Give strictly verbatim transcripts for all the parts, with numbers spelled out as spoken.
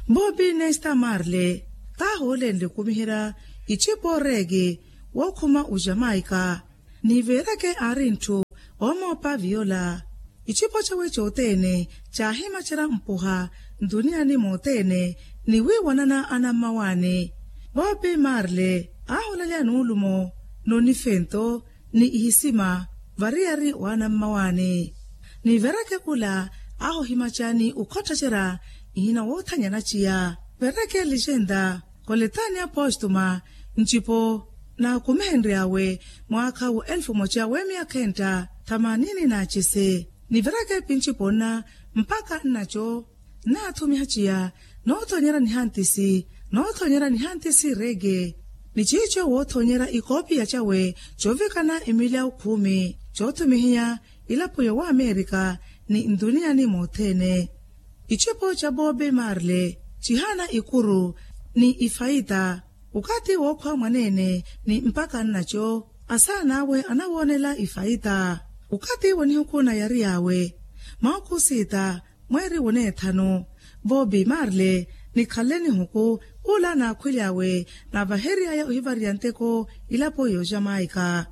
Bobi nesta marle taahoolenle okumiherya icipo reeki wookhuma ojamaika. Ni veereke aari ntthu oomoopa viyola icipo cawe cothene caahimacerya mpuha ntuniyani mothene ni wiiwanana anammawaani. Bobi marle aaholelya nuulumo nonifento ni ihisima variyari wa anammawaani. Ni veereke khula aahohimacani okhotthacerya ihina woothanyana ciya. Veereke legenda koletani apostuma ncipo naakumihenry'awe mwaakha wa elfu moca w'emyakha entta thamanini n'acese. Nivereke pincipo nna mpakha nnaco nnaathumiha ciya noothonyerya nihantisi noothonyerya nihantisi reeke. Ni ciico woothonyerya ikoopiya cawe coovikana emilyawu khumi coothumihiya ilapo yowamerika ni ntuniyani mothene. Icipo ca bobi marle cihaana ikuru ni ifaita. Okathi wookhwa mwaneene ni mpakha nnaco asaana awe anawoonela ifaita. Okathi wa nihuku nayariy'awe mahuku siita mweeri woneethanu. Bobi marle nikhanle nihuku ula naakhwilyawe naavahery'aya ohivariya nteko ilapo y'ojamaika.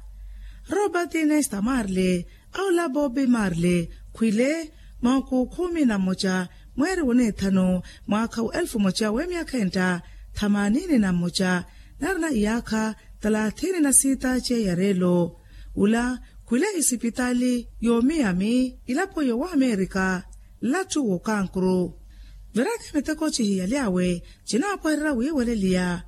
Robert nesta marle aula bobi marle khwile mahuku khumi na mmoca mweeri woneethanu mwaakha wa elfu moca w'emyakha entta thamanini na mmoca narina iyaakha thalathini na siita ceeya reelo. Ula khwile isipitaali y'omiyami ilapo y'owamerika nlattu w'okankuru. Veereke miteko cihiyalyawe cinaapwahererya wiiweleliya.